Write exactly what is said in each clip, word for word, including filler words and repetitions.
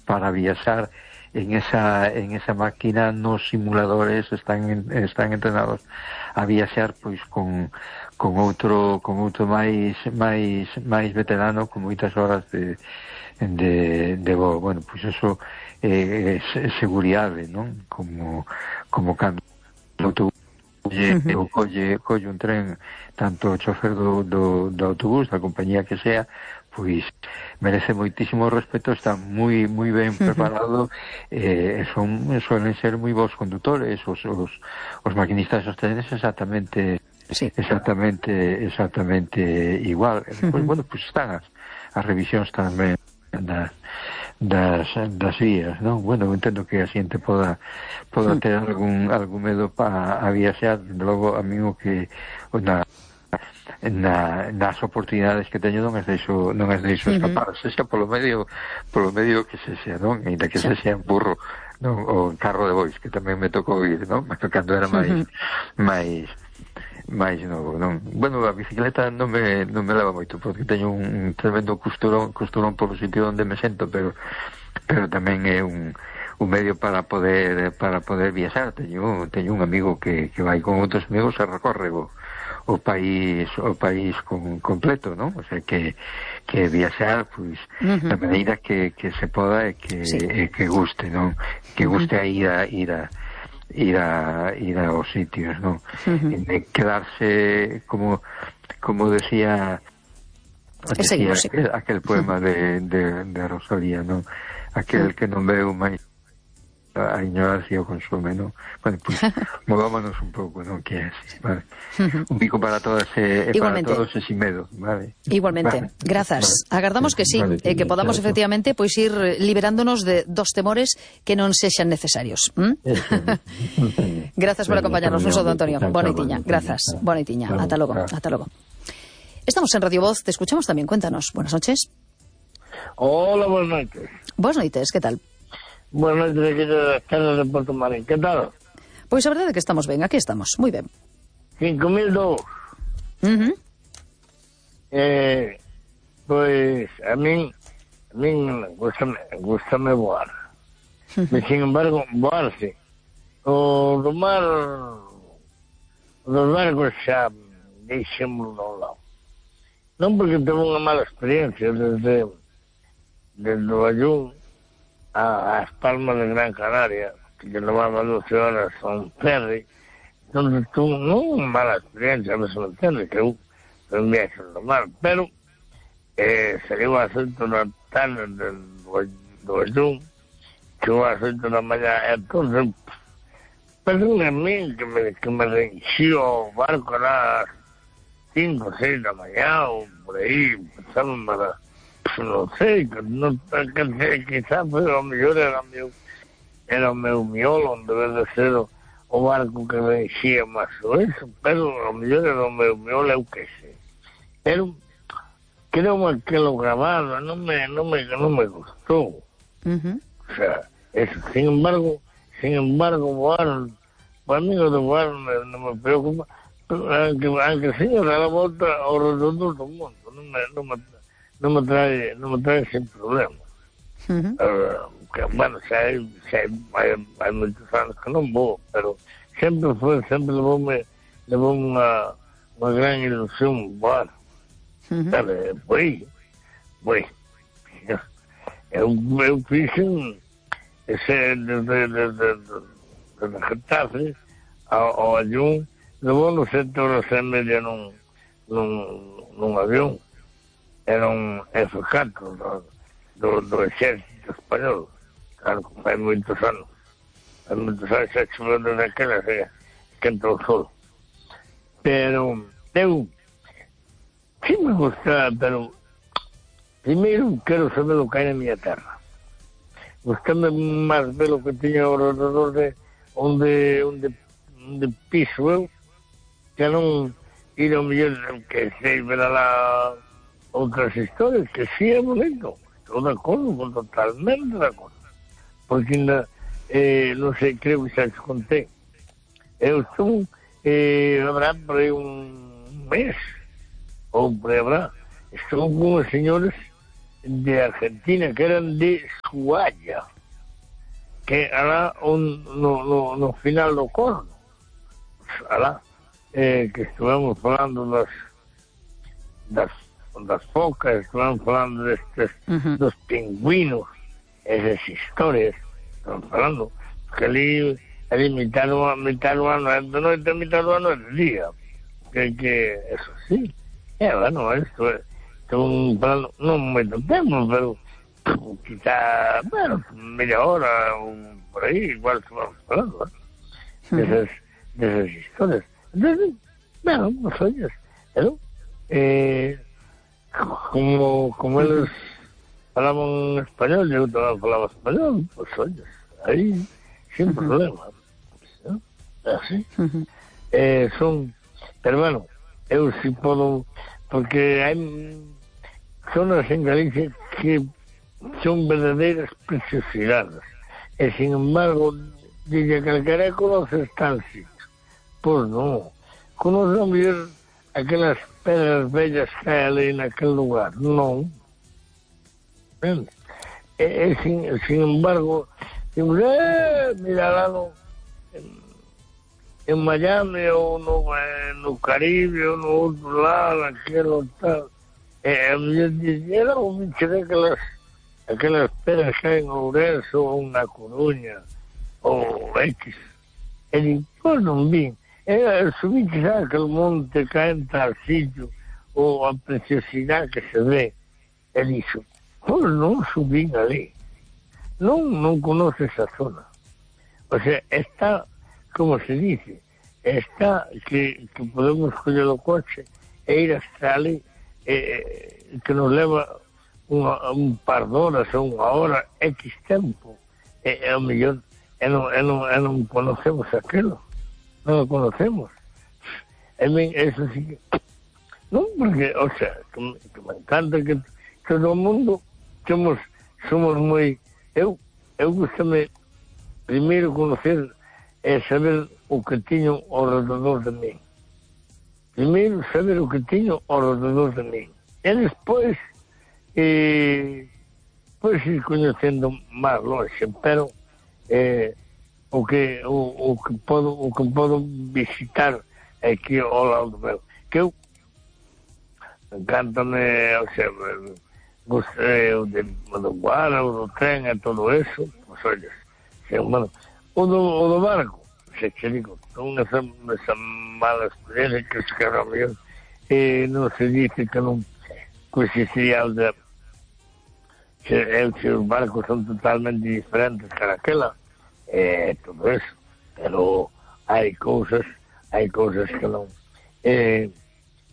para viaxar en esa en esa máquina. Nos simuladores están están entrenados a viaxar pois con con outro con outro máis máis máis veterano, con moitas horas de de, de voo. Bueno, pois eso é, é seguridade, non? Como como cando o autobús uh-huh. colle, colle un tren, tanto o chofer do, do, do autobús, da compañía que sea, pois merece moitísimo respeto, está moi moi ben preparado, eh, son suelen ser moi bons condutores, os, os, os maquinistas dos trenes exactamente sí. exactamente exactamente igual. Uh-huh. Pues, bueno, pues están as, as revisións tamén das das, das vías, non? Bueno, entendo que a xente poda poda ter algún algún medo para a viaxar. Logo, a mí o que na Na, nas oportunidades que teño non es deixo, non es deixo escapar, uh-huh. sexa polo medio polo medio que se sea, non? Ainda que se sea en burro, non? O en carro de bois, que tamén me tocou ir, non? Cando era máis uh-huh. máis máis novo, non? Bueno, a bicicleta non me non me leva moito, porque teño un tremendo costurón, costurón polo sitio onde me sento, pero pero tamén é un un medio para poder para poder viaxar. Teño teño un amigo que que vai con outros amigos e recorre o o país o país con, completo, ¿no? O sea, que que viaxar, pois, uh-huh. da maneira que, que se poda e que, sí. e que guste, ¿no? Que guste uh-huh. a ir a ir a ir a ir a os sitios, ¿no? Uh-huh. De quedarse como como decía, decía aquel, aquel poema uh-huh. de, de, de Rosalía, ¿no? Aquel uh-huh. que non veu máis a ignorancia o consume, ¿no? Bueno, pues movámonos un pouco, ¿no? Que é así, vale. Un bico para todas e eh, para todos e sin medo, vale. Igualmente, vale. Grazas. Vale. Agardamos que sí, vale, eh, que podamos claro. efectivamente pois ir liberándonos de dos temores que non sexan necesarios. ¿Mm? Grazas por acompañarnos, noso don Antonio. Boneitiña, grazas. Boneitiña. Ata logo, ata logo. Estamos en Radio Voz, te escuchamos tamén, cuéntanos. Buenas noches. Hola, buenas noches. Buenas noites, que tal? Buenas noches, aquí de las terras de Porto Marín. ¿Qué tal? Pois a verdade é que estamos ben, aquí estamos, moi ben. cinco mil dos. Uh-huh. Eh, pois a min a min gustame, gustame voar. Uh-huh. Mas, sin embargo, voar sí. O do mar, o dos barcos xa deixémoslo a un lado. Non porque teve unha mala experiencia desde desde o Ayún a As Palmas de Gran Canaria, que levaba doce horas a un ferry, donde tuvo non unha mala experiencia, me se me entende, que eu un viaxe no mar, pero eh, saliu a oito da tarde do, do Ayún, chegou a oito da mañá, entón, pero a mí que me, que me reenxiu o barco a las cinco, seis da mañá, ou por aí, pensamos para... non sei, non, que, quizás foi o mellor era o meu era o meu miolo, onde debe de ser o, o barco que me enxía máis o eso, pero o mellor era o meu miolo, eu que sei. Pero creo que lo grabado non me, non me, non me gustou. Uh-huh. O sea, eso, sin embargo, sin embargo, voar, para mí o de voar non me preocupa, aunque, aunque señor, a la volta ao redondo do mundo, non me, non me non me trae, non me trae sin problema. Uh-huh. Uh, que, bueno, xa hai, xa hai, hai, hai moitos anos que non vou, pero sempre foi, sempre levoume, levoume unha, unha gran ilusión voar. Uh-huh. Sabe, foi, foi. Eu, eu fixe ese, desde, desde, desde Getafe ao, ao Ayún, levou nos sete horas e media nun, nun, nun avión. Era un F catro do, do, do exército español, claro, que fai moitos anos, fai moitos anos xa choveu desde aquela que, que entrou o sol. Pero eu sí me gusta, pero primeiro quero saber o que hai na miña terra. Gustame máis ver o que tiña ao redor de onde, onde, onde piso eu, que non ir ao mellor que sei ver a la outras historias, que sí é bonito, estou de acordo, totalmente de acordo, porque ainda, eh, non sei, creo que xa te contei, eu estou, eh, habrá por aí un mes, ou por aí habrá, estou con os señores de Argentina, que eran de Ushuaia, que alá un, no, no, no final do corno, alá, eh, que estuvemos falando das, das, das focas, estuvemos falando destes, uh-huh. dos pingüinos, esas historias, estamos falando, que ali, ali mitad do ano é de noite, mitad do ano é de día, que, que eso sí, é, bueno, isto é, estamos falando, non moito tempo, pero quizá, bueno, media hora ou por aí, igual estamos falando, ¿eh? Desas, desas historias. Entonces, bueno, pues oye, ¿no? Eh, como, como eles falaban español, eu tamén falaba español, pues oye, aí, sin problema, ¿no? Así. Eh, son, pero bueno, eu si podo, porque hai zonas en Galicia que son verdadeiras preciosidades, e sin embargo, dice calquera conoces tal sitio. Pois non, conoce a ver aquelas pedras bellas que hai ali naquele lugar, non. E, e sin, sin embargo, dimos, eh, mira lá no, en, en Miami ou no, eh, no Caribe ou no outro lado, aquilo tal. E a mellor dixera o bicho daquelas aquelas pedras que hai en Ourense ou na Coruña ou X. E digo, pois non vin. E subí xa aquele monte que entra al sitio ou a preciosidade que se ve. E dixo, pois non subín ali. Non, non conoce esa zona. O sea, está, como se dice, está que, que podemos coller o coche e ir hasta ali, eh, que nos leva unha, un par de horas ou unha hora, X tempo, e, e ao mellor e non, e non, e non conocemos aquilo, non o conocemos. E ben, eso sí que non, porque, o sea, que, que me encanta que todo o mundo somos, somos moi, eu, eu gustame primeiro conocer e saber o que tiño ao redor de mí. Primeiro saber o que tiño ao redor de mí. E despois e pois ir coñecendo máis longe, pero eh, o que o, o que podo o que podo visitar aquí ao lado meu, que eu encántame, o sea, gostei o de, do guara, o do tren e todo eso, pois olha, se, bueno, o do, o do barco, se che digo, unha esa mala experiencia que se quedou mellor, e non se dice que non coincidiría o de que os barcos son totalmente diferentes que aquela, e todo eso, pero hai cousas, hai cousas que non. Eh,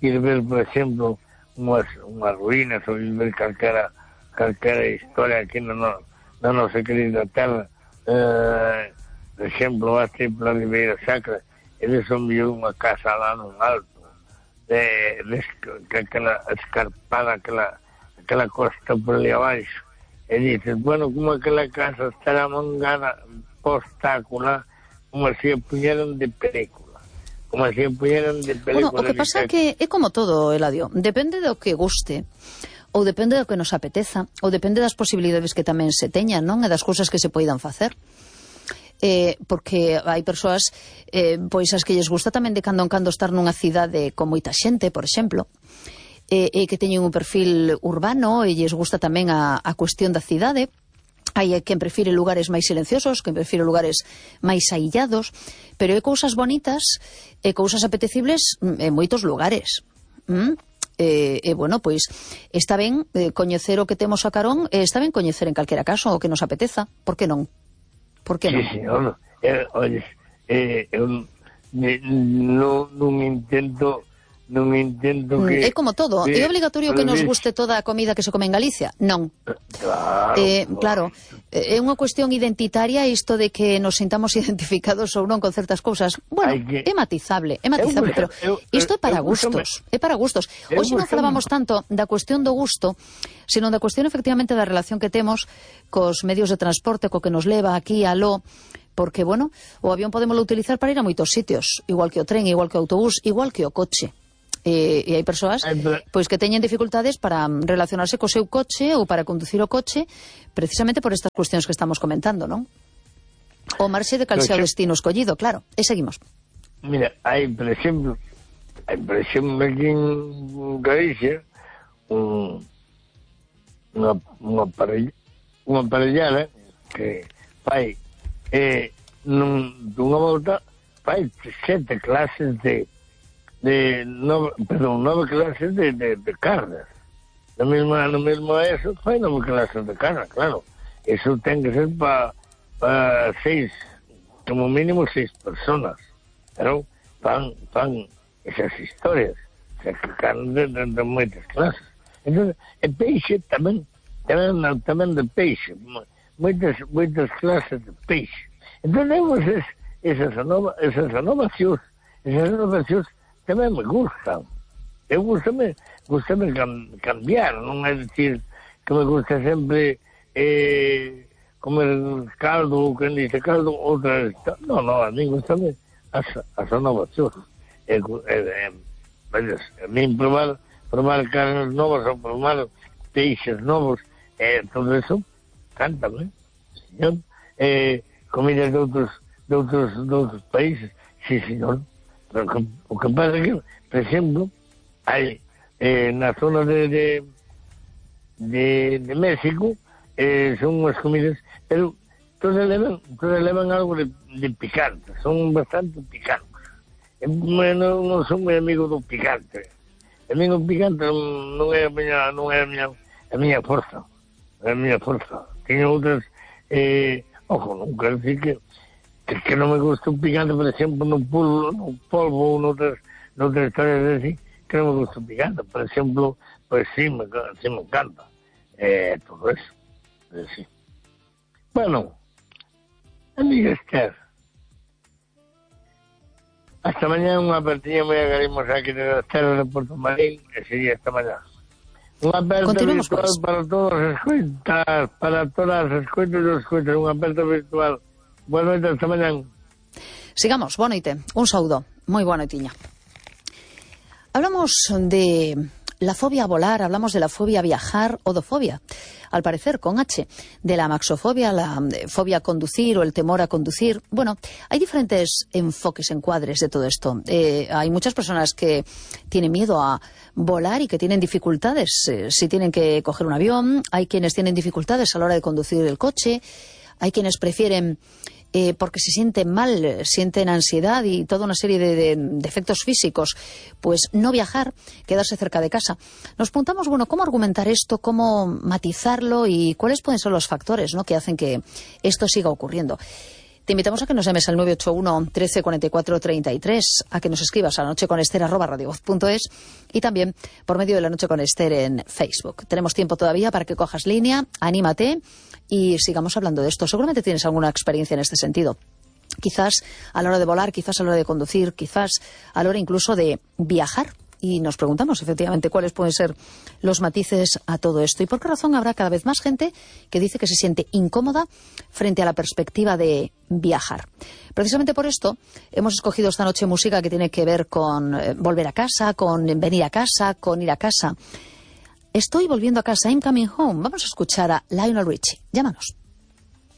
ir ver, por exemplo, unhas, unhas ruínas ou ir ver calquera, calquera historia aquí na, no, na nosa querida terra, eh, por exemplo, aquí pola Ribeira Sacra, eles son mellor unha casa lá nun alto, de, de, de aquela escarpada, aquela aquela costa por ali abaixo, e dices, bueno, como aquela casa estará mangada postácula, como se puñeron de película, como se puñeron de película. Bueno, o que pasa é que é como todo, Eladio, depende do que guste, ou depende do que nos apeteza, ou depende das posibilidades que tamén se teñan, non? E das cousas que se poidan facer. Eh, porque hai persoas eh, pois as que lles gusta tamén de cando en cando estar nunha cidade con moita xente, por exemplo, e, e que teñen un perfil urbano e lles gusta tamén a, a cuestión da cidade. Hai quen prefire lugares máis silenciosos, quen prefire lugares máis aillados, pero hai cousas bonitas e cousas apetecibles en moitos lugares. ¿Mm? E, e, bueno, pois está ben eh, coñecer o que temos a carón, e está ben coñecer en calquera caso o que nos apeteza, por que non? Por que non? Sí, señor, eh, oye, eh, eu non, non intento non intento que... É como todo, que, é obligatorio que nos guste toda a comida que se come en Galicia? Non. Claro, eh, claro, é unha cuestión identitaria isto de que nos sintamos identificados ou non con certas cousas. Bueno, que... é matizable, é matizable, pero isto é para gustos, é para gustos. Hoxe non falábamos tanto da cuestión do gusto, sino da cuestión efectivamente da relación que temos cos medios de transporte, co que nos leva aquí a aló, porque, bueno, o avión podémoslo utilizar para ir a moitos sitios, igual que o tren, igual que o autobús, igual que o coche. E, e hai persoas pois que teñen dificultades para relacionarse co seu coche ou para conducir o coche precisamente por estas cuestións que estamos comentando, non? O marxe de cal sea o destino escollido, claro. E seguimos. Mira, hai, por exemplo, hai, por exemplo, aquí en Galicia, un, unha, unha, parella, unha parellada que fai eh, nun, dunha volta fai sete clases de de nove, perdón, nove clases de, de, de cargas. No mesmo, no mesmo eso, fai nove clases de cargas, claro. Eso ten que ser para pa seis, como mínimo seis personas. Pero fan, fan esas historias. O sea, que cargan de, de, de moitas clases. Entón, e peixe tamén, tamén, tamén de peixe. Moitas, moitas clases de peixe. Entón, temos es, esas, anova, esas anovacións, esas anovacións tamén me gustan. Eu gustame, gustame cam, cambiar, non é dicir que me gusta sempre eh, comer caldo, que dice caldo, outra... Non, non, a mí gustame as, as anovacións. E, e, e, a mí probar, probar carnes novas ou probar peixes novos, eh, todo eso, cántame, señor. Eh, comidas de outros, de outros, de outros países, sí, señor. Pero que, o que pasa é que, por exemplo, hai eh, na zona de de, de, de México eh, son unhas comidas, pero todas levan, todas levan algo de, de picante, son bastante picantes. Eu non, non son moi amigo do picante. A mí o picante non é a miña, non é a miña, a miña forza, é a miña forza. Teño outras, eh, ojo, non quero dicir que que, que non me gusta un picante, por exemplo, no polvo, no polvo ou noutras, noutras historias así, que non me gusta un picante. Por exemplo, pues sí, me, sí me encanta. Eh, todo eso. Eh, sí. Bueno, amiga Esther, hasta mañana unha apertiña moi agarrimos aquí de las terras de Porto Marín, e sería hasta mañana. Unha aperta virtual pues. Para todos os escoitas, para todas as escoitas e os escoitas, unha aperta virtual. Boa noite, hasta mañana. Sigamos, boa noite. Un saúdo. Moi boa noitiña. Hablamos de la fobia a volar, hablamos de la fobia a viajar, odofobia, al parecer con H, de la maxofobia, la fobia a conducir o el temor a conducir. Bueno, hay diferentes enfoques, encuadres de todo esto. Eh, hay muchas personas que tienen miedo a volar y que tienen dificultades eh, si tienen que coger un avión. Hay quienes tienen dificultades a la hora de conducir el coche. Hay quienes prefieren... Eh, porque se sienten mal, sienten ansiedad y toda una serie de, de, de efectos físicos, pues no viajar, quedarse cerca de casa. Nos preguntamos, bueno, ¿cómo argumentar esto? ¿Cómo matizarlo? ¿Y cuáles pueden ser los factores, ¿no?, que hacen que esto siga ocurriendo? Te invitamos a que nos llames al nueve ocho uno, trece, cuarenta y cuatro, treinta y tres, a que nos escribas a lanocheconester arroba radiovoz punto es y también por medio de La Noche con Ester en Facebook. Tenemos tiempo todavía para que cojas línea, anímate y sigamos hablando de esto. Seguramente tienes alguna experiencia en este sentido. Quizás a la hora de volar, quizás a la hora de conducir, quizás a la hora incluso de viajar. Y nos preguntamos, efectivamente, cuáles pueden ser los matices a todo esto. ¿Y por qué razón habrá cada vez más gente que dice que se siente incómoda frente a la perspectiva de viajar? Precisamente por esto hemos escogido esta noche música que tiene que ver con eh, volver a casa, con venir a casa, con ir a casa. Estoy volviendo a casa, I'm coming home. Vamos a escuchar a Lionel Richie. Llámanos.